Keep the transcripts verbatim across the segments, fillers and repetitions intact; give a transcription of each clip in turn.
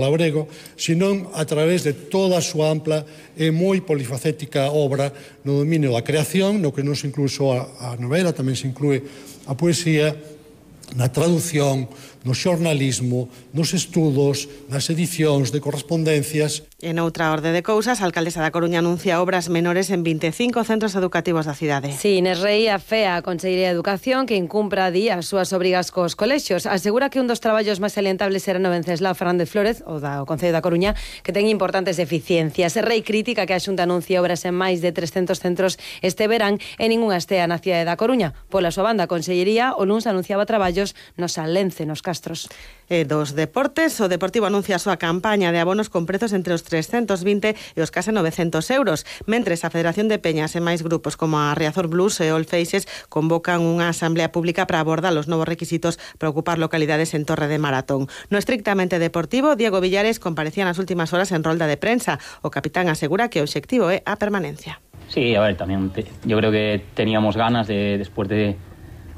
labrego, senón a través de toda a súa ampla e moi polifacética obra no dominio da creación, no que non se inclúe só a, a novela, tamén se inclúe a poesía, na traducción, no xornalismo, nos estudos, nas edicións de correspondencias. En outra orde de cousas, a alcaldesa da Coruña anuncia obras menores en vinte e cinco centros educativos da cidade. Sí, Inés Rei afea a Consellería de Educación que incumpra día as súas obrigas cos colexios. Asegura que un dos traballos máis salientables será no Venceslao Fernández Flórez, o da o Concello da Coruña, que ten importantes deficiencias. Rei critica que a Xunta anuncie obras en máis de trescentos centros este verán e ningunha estea na cidade da Coruña. Pola súa banda, a Consellería o luns anunciaba traballos no Sanlence, nos Castros. E dos deportes, o Deportivo anuncia a súa campaña de abonos con prezos entre os trescentos vinte e os case novecentos euros, mentres a Federación de Peñas e máis grupos como a Riazor Blues e All Faces convocan unha asamblea pública para abordar os novos requisitos para ocupar localidades en Torre de Maratón. No estrictamente deportivo, Diego Villares comparecía nas últimas horas en rolda de prensa. O capitán asegura que o obxectivo é a permanencia. Sí, a ver, también te, yo creo que teníamos ganas de, después de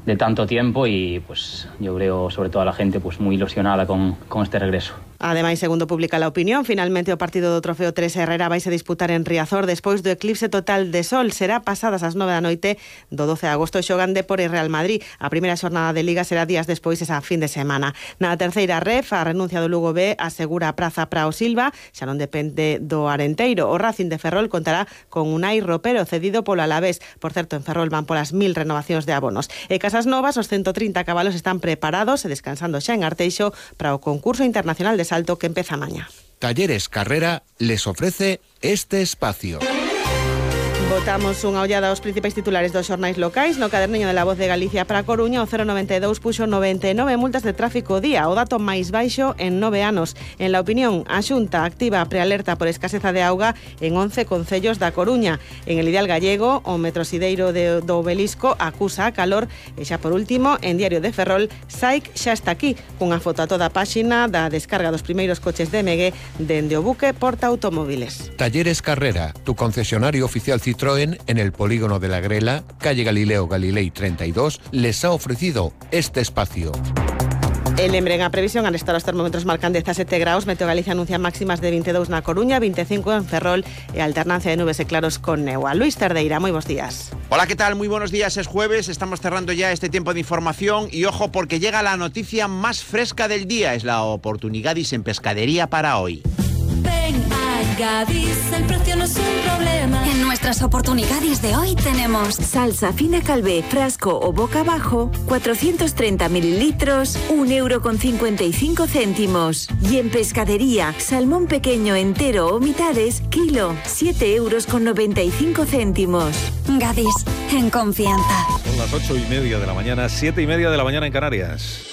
de tanto tiempo y pues yo creo sobre todo a la gente pues muy ilusionada con, con este regreso. Ademais, segundo publica La Opinión, finalmente o partido do Trofeo tres Herrera vaise disputar en Riazor despois do eclipse total de sol. Será pasadas as nove da noite do doce de agosto. Xogan Depor e Real Madrid. A primeira xornada de Liga será días despois esa fin de semana. Na terceira ref, a renuncia do Lugo B asegura a praza para o Silva, xa non depende do Arenteiro. O Racing de Ferrol contará con Unai Ropero cedido polo Alavés. Por certo, en Ferrol van polas mil renovacións de abonos. E Casas Novas, os ciento trinta cabalos están preparados e descansando xa en Arteixo para o concurso internacional de salto que empeza mañá. Talleres Carrera les ofrece este espacio. Botamos unha ollada aos principais titulares dos xornais locais. No caderneño de La Voz de Galicia para a Coruña, o cero noventa e dous puxo noventa e nove multas de tráfico día, o dato máis baixo en nove anos. En La Opinión, a Xunta activa a prealerta por escaseza de auga en once concellos da Coruña. En El Ideal Gallego, o metrosideiro de, do Obelisco acusa a calor. E xa por último, en Diario de Ferrol, Saic xa está aquí, cunha foto a toda a páxina da descarga dos primeiros coches de M G dende o buque Porta Automóviles. Talleres Carrera, tu concesionario oficial Citroën en el polígono de la Grela, calle Galileo Galilei treinta y dos, les ha ofrecido este espacio. E lembren a previsión, al estar os termómetros marcan dezasete graus, Meteo Galicia anuncia máximas de vinte e dous na Coruña, vinte e cinco en Ferrol e alternancia de nubes e claros con neua. Luis Cerdeira, moi bons días. Hola, ¿qué tal? Muy buenos días, es jueves, estamos cerrando ya este tiempo de información y ojo porque llega la noticia más fresca del día, es la oportunidadis en pescadería para hoy. Ven a Gadis, el precio no es un problema. En nuestras oportunidades de hoy tenemos salsa fina Calvé, frasco o boca abajo, cuatrocientos treinta mililitros, un euro con cincuenta y cinco céntimos. Y en pescadería, salmón pequeño entero o mitades, kilo, siete euros con noventa y cinco céntimos. Gadis, en confianza. Son las ocho y media de la mañana, siete y media de la mañana en Canarias.